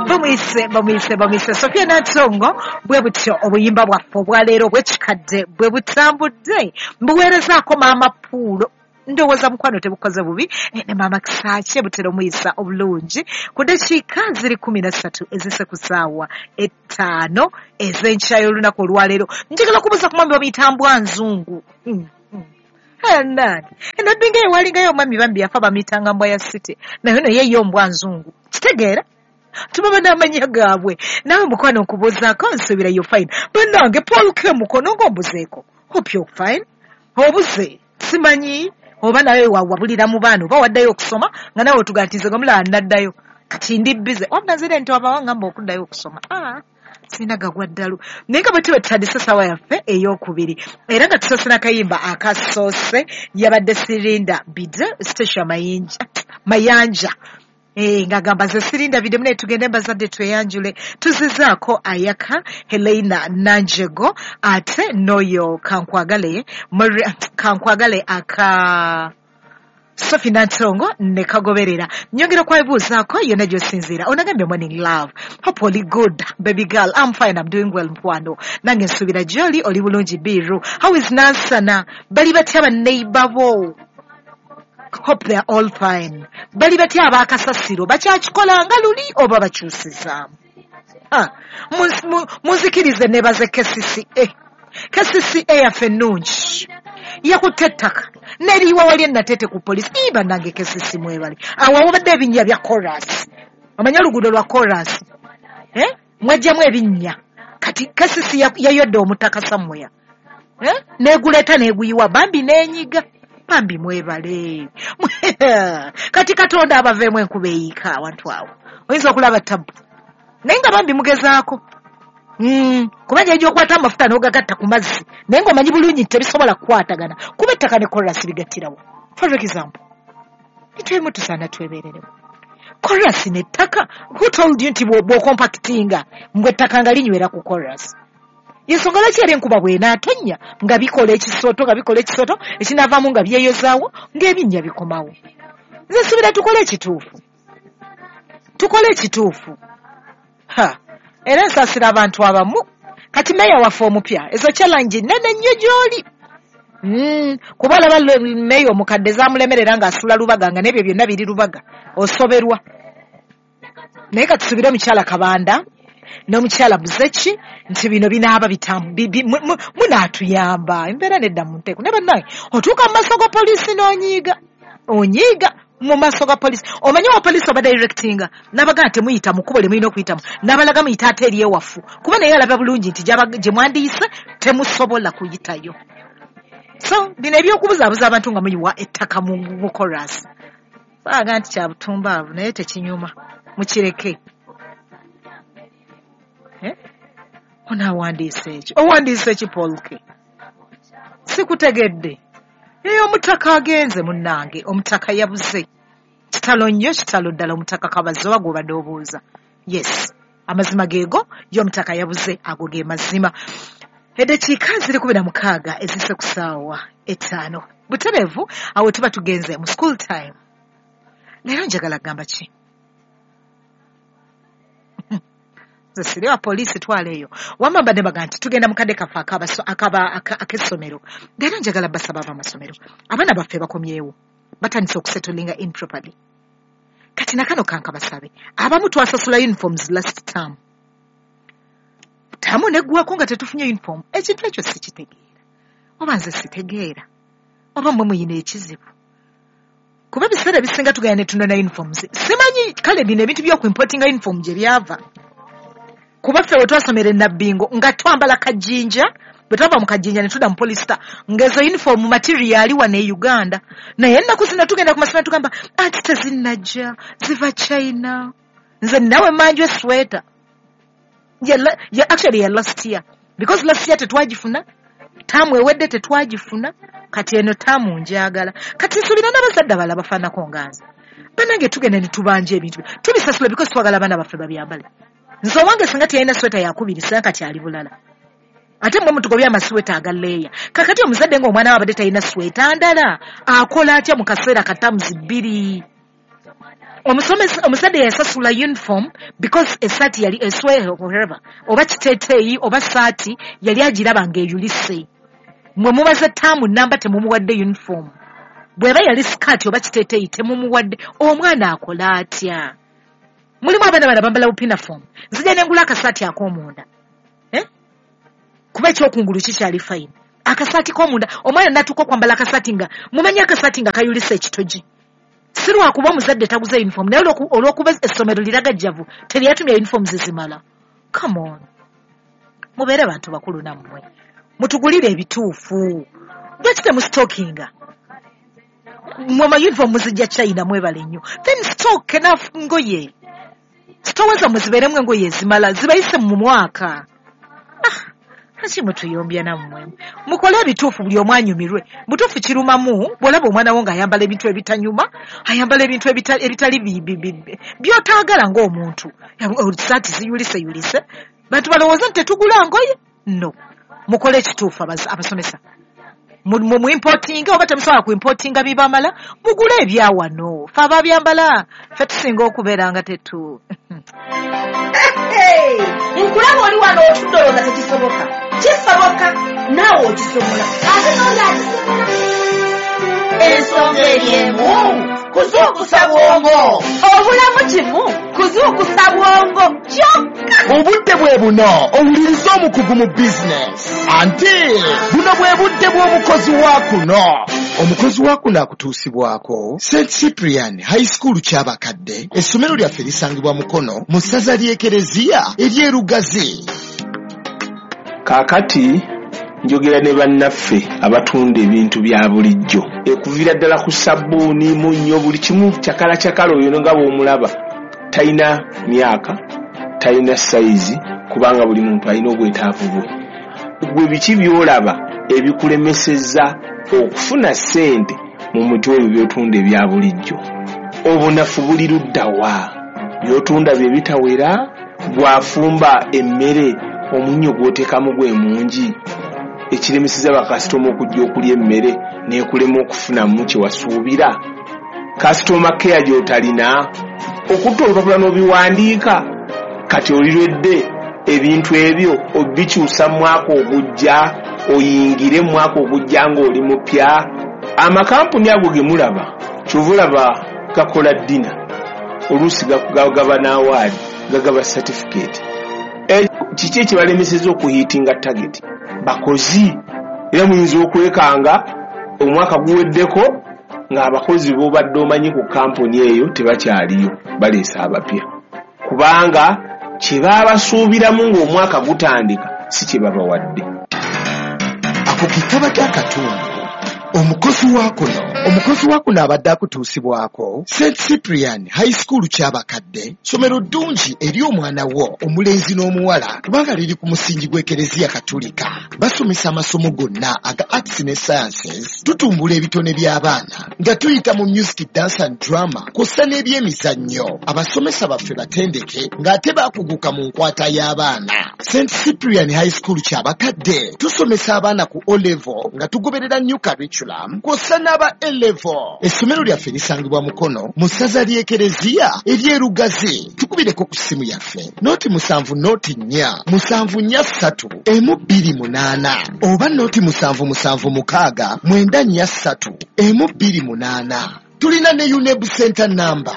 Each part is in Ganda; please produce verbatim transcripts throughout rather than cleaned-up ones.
Bamuyise, bamuyise, bamuyise Sofia Nantongo. Bwe butyo obuyimba bwaffe obwaleero obw'ekikadde bwe butambudde. Mbuweerezaako Maama Puulo, ndowooza mukwano tebukoze bubi, ne Maama Kisaakye butera omuyisa obulungi. Ku ddakiika ziri kumi na ssatu ezise ku ssaawa ettaano ez'enkya y'olunaku olwaleero, njagala okubuuza ku mwami bamuyita Mbwa Nzungu. Nani enabbinga ewalingayo omwami bambi yafa bamuyitanga Mbwa ya City, naye no ye yo Mbwa Nzungu. Kitegeera tubaba n'amannya gaabwe. Naawe mukwano nkubuuzaako, nsuubira yo fine. Bannange Paul K mukono ng'ombuzeeko, hope you're fine. Obuze simanyi oba nawe wawabulira mu baana oba waddayo okusoma nga nawe otugaa nti nze nga mulala nnaddayo kati ndi bize wabula nzire nti wabawa ngamba okuddayo okusoma, ah sirina gagwa ddalu. Naye nga bwe tuba tutandise essaawa yaffe ey'okubiri era nga tusoose n'akayimba akasoose, yabadde Sirinda Bide Station Mayinja Mayanja. Eh, ng'agamba nze Sirinda Bide, munaye tugende mbazadde tweyanjule. Tuzizaako Ayaka Helena Nanjego ate n'oyo Kankwagale Kankwagale aka Sophie Nantongo ne kagoberera. Nyongera okwebuuzaako yonna gy'osinziira. Onagambye morning love, hope oli good baby girl. I'm fine, I'm doing well mukwano. Nange nsuubira gy'oli oli bulungi biru. How is Nansana? Bali batya banneighbor bo? Hope they are all fine. Bali batya abakasasiro? Bakyakikola nga luli oba bakyusizaamu? Munzikirize nebaze K C C A. K C C A yaffe ennungi yakutte ettaka neriyiwa wali enatete ku poliisi. Ii bannange K C C mwebale. Awo wabadde ebinnya bya chorus, omanye oluguudo lwa chorus, eh? Mwajjamu ebinnya. Kati K C C yayodde omutaka somewhere, eh? Neguleeta neguyiwa bambi nenyiga. Bambi mwebale. Kati Katonda abaveemu enkuba eyiika awantu awo oyinza okulaba tabu, naye nga bambi mugezaako. Mm, kuba gy'ojja okwata amafuta n'ogagatta ku mazzi naye ng'omanyi bulungi nti tebisobola kukwatagana kuba ettaka ne chorus bigattirawo. For example, nitwemu tusaana twebeererewo chorus n'ettaka. Who told you nti bw'okompakitinga mbwe ettaka nga linywera ku chorus? Ensonga lwaki era enkuba bw'enaatonnya nga bikola ekisooto nga bikola ekisooto ekinaavaamu nga byeyozaawo ng'ebinnya bikomawo. Nze nsuubira tukole ekituufu, tukole ekituufu. Ha, era nsaasira abantu abamu. Kati meeya waffe omupya ezo challenge nnene nnyo gy'oli. Mm, kuba olaba meeya omukadde zaamulemerera ng'asula Lubaga nga n'ebyo byonna biri Lubaga, osoberwa. Naye katusuubire omukyala Kabanda n'omukyala Buzeki nti bino binaaba munaatuyamba embeera nedda mu nteeko. Naye bannange otuuka mu maaso ga poliisi n'onyiiga, onyiiga mu maaso ga poliisi. Omanyi wa poliisi oba directinga n'abagamba temuyita mu kkubo lye mulina okuyitamu, n'abalaga muyita ate eri ewafu, kuba naye alaba bulungi nti gye mwandiyise temusobola kuyitayo. So bino ebyokubuzaabuza abantu nga muyiwa ettaka mu chorus, baaga nti kya butumbaavu naye tekinyuma, mukireke. Eh? Onaawandiise eki? Owandiise eki Paul K? Sikutegedde. Eyo omutaka agenze munnange, omutaka yabuze. Kitalo nnyo, kitalo ddala. Omutaka Kabazi oba gw'obadde obuuza. Yes, amazima geego, ye omutaka yabuze, ago ge mazima. Eddakiika ziri kumi na mukaaga ezise ku ssaawa ettaano. Butereevu awo tuba tugenze mu school time. Leero njagala kugamba ki? Siri wa poliisi twala eyo. Wamma mbadde mbaga nti tugenda mu kadde kaffe ak'essomero. Leero njagala basaba ab'amasomero. Abaana baffe bakomyewo. Batandise okusettlinga in properly. Kati nakano kankabasabe. Abamu twasasula uniforms last term. Tamu neggwako nga tetufunye uniform. Ekintu ekyo sikitegeera. Oba nze sitegeera. Oba mmwe muyina ekizibu. Kuba ebiseera ebisinga tugenda ne tunona uniforms. Simanyi kale bino ebintu by'okuimportinga uniform gye byava. Kuba ffe we twasomera e Nabbingo nga twambala kajinja, bwe twava mu kajinja ne tudda mu polista ng'ezo uniform material wano e Uganda. Naye ennaku zino tugenda ku masomero tugamba anti tezinnajja, ziva China. Nze nnawe mmanju esweta ya, ya, actually ya last year, because last year tetwagifuna, taamu ewedde tetwagifuna, kati eno taamu njagala. Kati nsuubira n'abazadde abalala bafaanako nga nze. Bannange tugenda ne tubanja ebintu tubisasula because twagala abaana baffe babyambale. Nze owange singa teyalina sweta yakubiri singa kati ali bulala. Ate mmwe mutugobye amasweta aga leeya. Kakati omuzadde ng'omwana we abadde talina sweta ndala akola atya mu kaseera katamuzi bbiri? Omusomesa, omuzadde yasasula uniform because esaati yali eswehe whatever, oba kiteeteeyi oba saati yali agiraba ng'eyulise. Mwe mubaze ttaamu namba temumuwadde uniform. Bw'eba yali sikaati oba kiteeteeyi temumuwadde, omwana akola atya? Mulimu abaana bano bambala bupinaform. Nzija ne ngula akasaati ak'omunda. Eh? Kuba ekyokungulu kikyali fine. Akasaati k'omunda, omwana n'atuuka okwambala akasaati nga, mumanyi akasaati nga kayulise ekitogi. Si lwakuba omuzadde taguze uniform, naye olw'okuba essomero liragajjavu, teryatumya uniforms zimala. Come on. Mubeere bantu bakulu nammwe. Mutugulire ebituufu. Lwaki temusitookinga? Mwe ma uniform muzijja China mwebale nnyo. Then stock enough ngoye. Sitowa zammwe zibeeremu engoye ezimala, zibayise mu mwaka. Ah, lwaki mutuyombya nammwe? Mukole ebituufu buli omu anyumirwe. Butuufu kirumamu bw'olaba omwana wo ng'ayambala ebintu ebitanyuma, ayambala ebintu ebitali by'otaagala ng'omuntu. Saati ziyuliseyulise. Bantu balowooza nti tetugula ngoye? No. Mukole ekituufu abasomesa. Mu importinga oba temusobola ku importinga bibamala, mugule ebya wano. Ffe ababyambala, ffe tusinga okubeera nga tetu. Nkulaba oli wano otudde olwo nga tekisoboka. Kisoboka, naawe okisobola. Ate n'oli akisobola. Ensonga eri emu, kuzuukusa bwongo. Obulamu kimu, kuzuukusa bwongo kyokka. Obudde bwe buno owuliriza omukugu mu bizinesi. Anti buno bwe budde bw'omukozi wa kuno. Omukozi wa kuno akutuusibwako Saint Cyprian High School Kyabakadde. Essomero lyaffe lisangibwa Mukono mu ssaza ly'Ekereziya ery'e Lugazi. Kaakati njogera ne bannaffe abatunda ebintu bya bulijjo. Ekuviira ddala ku sabbuuni, munnyo, buli kimu kyakala kyakala oyo nga bw'omulaba. Talina myaka, talina sayizi, kubanga buli muntu alina obwetaavu bwe. Gwe biki by'olaba ebikulemesezza okufuna ssente mu muti ebyo by'otunda ebya bulijjo? Obunafu buli ludda wa? By'otunda bye bitawera, bw'afumba emmere omunnyo gw'oteekamu gwe mungi. Ekiremeseza bakasitoma okujja okulya emmere n'ekulema okufunamu kye wasuubira. Kasitoma care gy'otalina, okutta olupapula n'obiwandiika, kati olirwedde ebintu ebyo obikyusa mu mwaka ogujja, oyingire mu mwaka ogujja ng'oli mupya. Amakampuni ago ge mulaba, ky'ova olaba gakola ddina, oluusi gagaba n'awaadi, gagaba certificate. Kiki ekibalemeseza okuhiitinga target? Bakozi. Era muyinza okwekanga omwaka guweddeko ng'abakozi b'obadde omanyi ku kampuni eyo tebakyaliyo, baleese abapya. Kubanga kye baabasuubiramu ng'omwaka gutandika si kye babawadde. Ako ke kabadde akatundu. Omukozi wa kuno, omukozi wa kuno abadde akutuusibwako Saint Cyprian High School Kyabakadde, ssomero ddungi eri omwana wo omulenzi n'omuwala kubanga liri ku musingi gw'Ekereziya Katulika. Basomesa amasomo gonna aga arts ne sciences, tutumbula ebitone by'abaana nga tuyita mu music, dance and drama kw'ossa n'ebyemizannyo. Abasomesa baffe batendeke ng'ate baakuguka mu nkwata y'abaana. Saint Cyprian High School Kyabakadde tusomesa abaana ku O level nga tugoberera new curriculum kw'ossa n'aba A level. Essomero lyaffe lisangibwa Mukono mu ssaza ly'Ekereziya ery'e Lugazi. Tukubireko ku ssimu yaffe noti musanvu noti nnya musanvu nnya ssatu emu bbiri munaana oba noti musanvu musanvu mukaaga mwenda nnya ssatu emu bbiri munaana. Tulina ne UNEB Center number.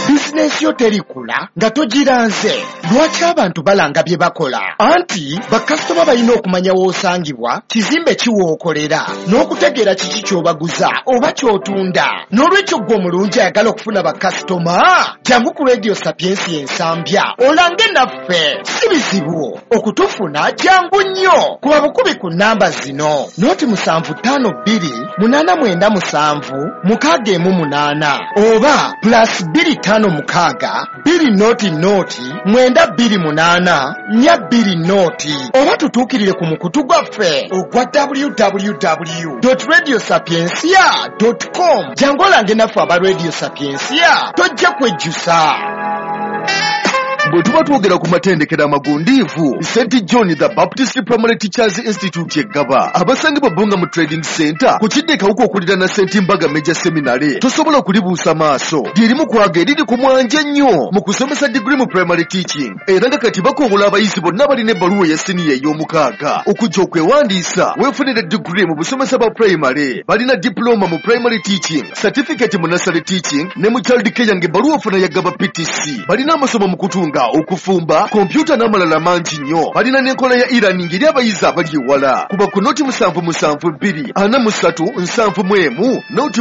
Bizinesi yo terikula nga togiranze. Lwaki abantu balanga bye bakola? Anti bakasitoma balina okumanya w'osangibwa, kizimbe ki w'okolera, n'okutegeera kiki ky'obaguza oba ky'otunda. N'olwekyo ggwe omulungi ayagala okufuna bakasitoma, jangu ku Radio Sapiensia Ensambya olange naffe. Si bizibu okutufuna, jangu nnyo. Kuba bukubi ku nnamba zino: noti musanvu ttaano bbiri munaana mwenda musanvu mukaaga emu munaana oba plus bbiri ttaano mukaaga bbiri noti noti mwenda bbiri munaana nnya bbiri noti oba tutuukirire ku mukutu gwaffe ogwa w w w dot radio sapiensia dot com. Jangu olange naffe aba Radio Sapiensia, tojja kwejjusa. Bwe tuba twogera ku matendekero amagundiivu, Saint John the Baptist Primary Teachers Institute eggaba abasangibwa Bbunga mu Trading Center ku kidde Kawuka okuliraana Saint Mbaga Major Seminary, tosobola kulibuusa maaso. Lyerimu kwaga eriri ku mwanje ennyo mu kusomesa digiri mu primary teaching, era nga kati bakowola abayizi bonna balina ebbaluwa eya siniya ey'omukaaga okujja okwewandiisa weefunire digiri mu busomesa bwa primary. Balina diploma mu primary teaching, certificate mu nursery teaching ne mu child care ng'ebbaluwa ofuna ya Gaba P T C. Balina amasomo mu kutunga, okufumba, kompyuta n'amalala mangi nnyo. Balina n'enkola ya e-learning eri abayizi abali ewala. Kuba ku noti musanvu musanvu bbiri ana mu ssatu nsanvu mu emu noti.